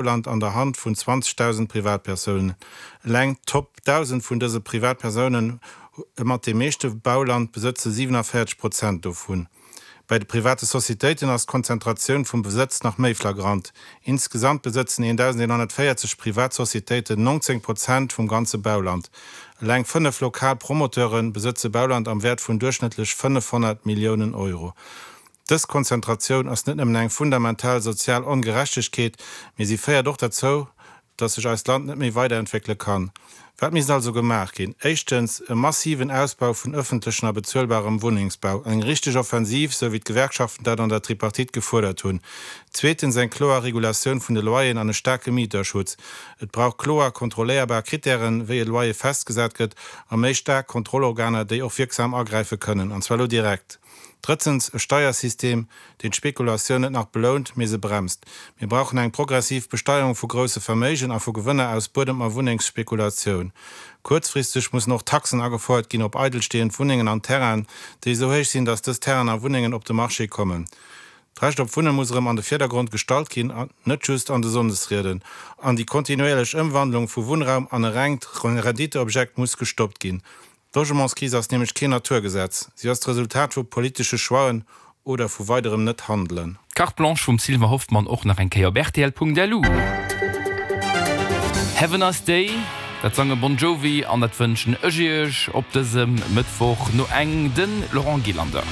Bauland an der Hand vun 20.000 Privatpersounen. Eleng d'Top 1.000 vun dëse Privatpersounen mat dem meeschte Bauland besëtze 47 Prozent dovun. Bei de private Societéiten ass d'Konzentratioun vum Besëtz nach méi flagrant. Insgesamt besëtzen 1.140 privat Societéiten 19 Prozent vum ganze Bauland. Eleng 5 lokal Promoteure besëtze Bauland am Wäert vun duerchschnëttlech 500 Milliounen Euro. Dës Konzentratioun ass net nëmmen eng fundamental sozial Ongerechtegkeet, mee si féiert och derzou, dass sech eist Land net méi weiderentwéckele kann. Wat misst also gemaach ginn? Éischtens, e massiven Ausbau vun ëffentlechen a bezuelbarem Wunnengsbau, eng richteg Offensiv, sou wéi d'Gewerkschaften dat an der Tripartite gefuerdert hunn. Zweetens, eng kloer Regulatioun vun de Loyeren an e staarke Mieterschutz. Et brauch kloer, kontrolléierbar Krittären, wéi e Loyer festgesat gëtt, a méi staark Kontrollorganer, déi och wierksam agräife kënnen, an zwar elo direkt. Drëtzens, e Steiersystem, deen d'Spekulatioun net nach belount, mee se bremst. Mir brauchen eng progressiv Besteierung vu grousse Verméigen a vu Gewënner aus Buedem a Wunnengsspekulatioun. Kuerzfristeg mussen och Taxen agefouert ginn op eidelstehend Wunnengen an Terrainen, déi esou héich sinn, dass dës Terrainen a Wunnengen op de Marché kommen. D'Recht op Wunne muss erëm an de Virdergrond gestallt ginn, an net just an de Sonndesrieden. An déi kontinuéierlech Ëmwandlung vu Wunnraum an e rengt Renditeobjekt muss gestoppt ginn. D'Logementskris ass nämlech keen Naturgesetz, si ass d'Resultat vu politesche Choixen oder vu weiderem Net-Handelen. D'Carte Blanche vum Sylvain Hoffmann och nach eng Kéier op rtl.lu. Have a nice day, dat sange Bon Jovi an dat wënschen ech iech op dësem Mëttwoch no eng, de Laurent Gillander.